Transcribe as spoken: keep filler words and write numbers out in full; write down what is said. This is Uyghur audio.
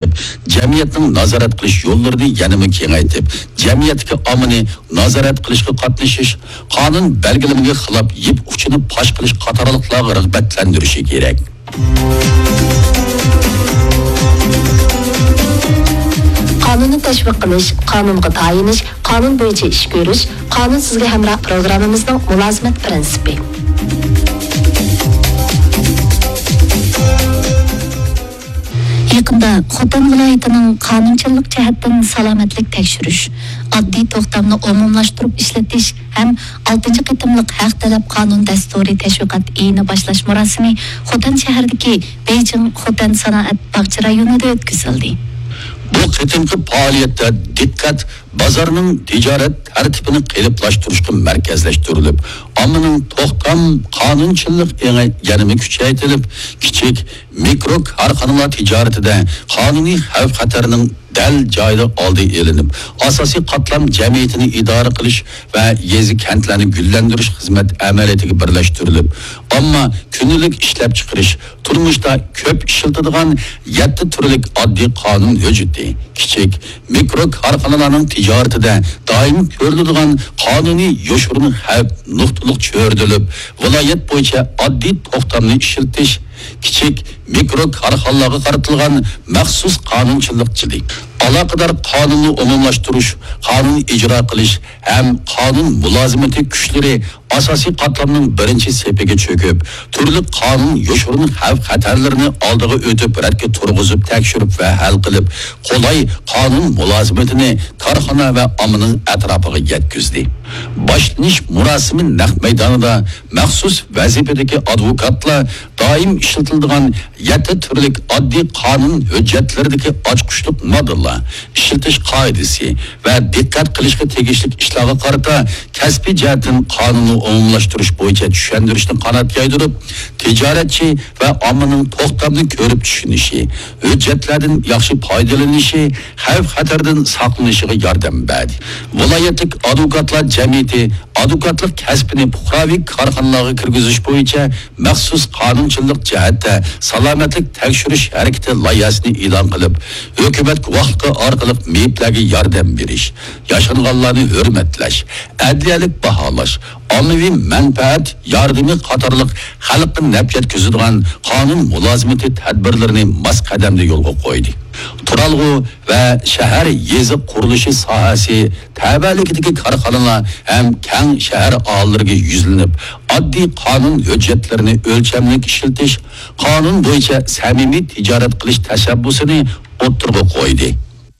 جەمئىيەتنىڭ نازارەت قىلىش يوللىرىنى يەنىمۇ كېڭەيتىپ، جەمئىيەتتىكى ئاممىنى نازارەت قىلىشقا قاتنىشىش، قانۇن بەلگىلىمىگە خىلاپ يىپ ئۇچىنى پاش قىلىش قاتارلىقلارغا رىغبەتلەندۈرۈشى كېرەك. قانۇننى تەشۋىق قىلىش، قانۇنغا تايىنىش، قانۇن بويىچە ئىش كۆرۈش، قانۇن سىزگە ھەمراھ پروگراممىمىزنىڭ مۇلازىمەت پىرىنسىپى. يېقىندا خوتەن ۋىلايىتىنىڭ قانۇنچىللىق جەھەتتىن سالامەتلىك تەكشۈرۈش، ئاددىي توختامنى ئومۇملاشتۇرۇپ ئىشلىتىش ھەم ئالتىنچى قېتىملىق ھەق تەلەپ قانۇن دەستۇرى تەشۋىقات ئېيىنى باشلاش مۇراسىمى خوتەن شەھىرىدىكى بېيجىڭ خوتەن سانائەت باغچە رايونىدا ئۆتكۈزۈلدى. بۇ قېتىمقى پائالىيەتتە دىققەت بازارنىڭ تىجارەت تەرتىپىنى قېلىپلاشتۇرۇشقا مەركەزلەشتۈرۈلۈپ، ئاممىنىڭ توختام، قانۇنچىللىق ئېڭى يەنىمۇ كۈچەيتىلىپ، كىچىك، مىكرو كارخانىلار تىجارىتىدە قانۇنىي خەۋپ-خەتەرنىڭ دەل جايىدا ئالدى ئېلىنىپ، ئاساسىي قاتلام جەمئىيىتىنى ئىدارە قىلىش ۋە يېزا-كەنتلەرنى گۈللەندۈرۈش خىزمەت ئەمەلىيىتىگە بىرلەشتۈرۈلۈپ، ئامما كۈندىلىك ئىشلەپچىقىرىش، تۇرمۇشتا كۆپ ئىشلىتىدىغان يەتتە تۈرلۈك ئاددىي قانۇن ھۆججىتى، كىچىك، مىكرو كارخانىلارنىڭ تىجارىتىدە دائىم كۆرۈلىدىغان قانۇنىي يوشۇرۇن خەۋپ نۇقتىلىق چۆرىدىلىپ، ۋىلايەت بويىچە ئاددىي توختامنى ئىشلىتىش، كىچىك، مىكرو كارخانىلارغا قارىتىلغان مەخسۇس قانۇنچىلىق جىلى، ئالاقىدار قانۇننى ئومۇملاشتۇرۇش، قانۇن ئىجرا قىلىش ھەم قانۇن مۇلازىمىتى كۈچلىرى ئاساسىي قاتلامنىڭ بىرىنچى سېپىگە چۆكۈپ، تۈرلۈك قانۇن يوشۇرۇن خەۋپ-خەتەرلىرىنى ئالدىغا ئۆتۈپ، رەتكە تۇرغۇزۇپ، تەكشۈرۈپ ۋە ھەل قىلىپ، قولاي قانۇن مۇلازىمىتىنى كارخانا ۋە ئاممىنىڭ ئەتراپىغا يەتكۈزدى. باشلىنىش مۇراسىمى نەق مەيدانىدا مەخسۇس ۋەزىپىدىكى ئادۋوكاتلار دائىم ئىشلىتىلىدىغان يەتتە تۈرلۈك ئاددىي قانۇن ھۆججەتلىرىدىكى ئاچقۇچلۇق ماددىلار، ئىشلىتىش قائىدىسى ۋە دىققەت قىلىشقا تېگىشلىك ئىشلارغا قارىتا كەسپىي جەھەتتىن قانۇننى ئومۇملاشتۇرۇش بويىچە چۈشەندۈرۈشنى قانات يايدۇرۇپ، تىجارەتچى ۋە ئاممىنىڭ توختامنى كۆرۈپ چۈشىنىشى، ھۆججەتلەردىن ياخشى پايدىلىنىشى، خەۋپ-خەتەردىن ساقلىنىشىغا ياردەم بەردى. ۋىلايەتلىك ئادۋوكاتلار جەمئىيىتى ئادۋوكاتلىق كەسپىنى پۇقراۋى كارخانىلارغا كىرگۈزۈش بويىچە مەخسۇس قانۇنچىلىق جەھەتتە سالامەتلىك تەكشۈرۈش ھەرىكىتى لايىھەسىنى ئېلان قىلىپ، ھۆكۈمەت گۇۋاھلىقى ئارقىلىق مېيىپلەرگە ياردەم بېرىش، ياشانغانلارنى ھۆرمەتلەش، ئەدلىيەلىك باھالاش، ئاممىۋى مەنپەئەت ياردىمى قاتارلىق خەلققە نەپ يەتكۈزىدىغان قانۇن مۇلازىمىتى تەدبىرلىرىنى ماس قەدەمدە يولغا قويدى. تۇرالغۇ ۋە شەھەر، يېزا قۇرۇلۇشى ساھەسى تەۋەلىكىدىكى كارخانىلار ھەم كەڭ شەھەر ئاھالىلىرىگە يۈزلىنىپ، ئاددىي قانۇن ھۆججەتلىرىنى ئۆلچەملىك ئىشلىتىش، قانۇن بويىچە سەمىمىي تىجارەت قىلىش تەشەببۇسىنى ئوتتۇرىغا قويدى.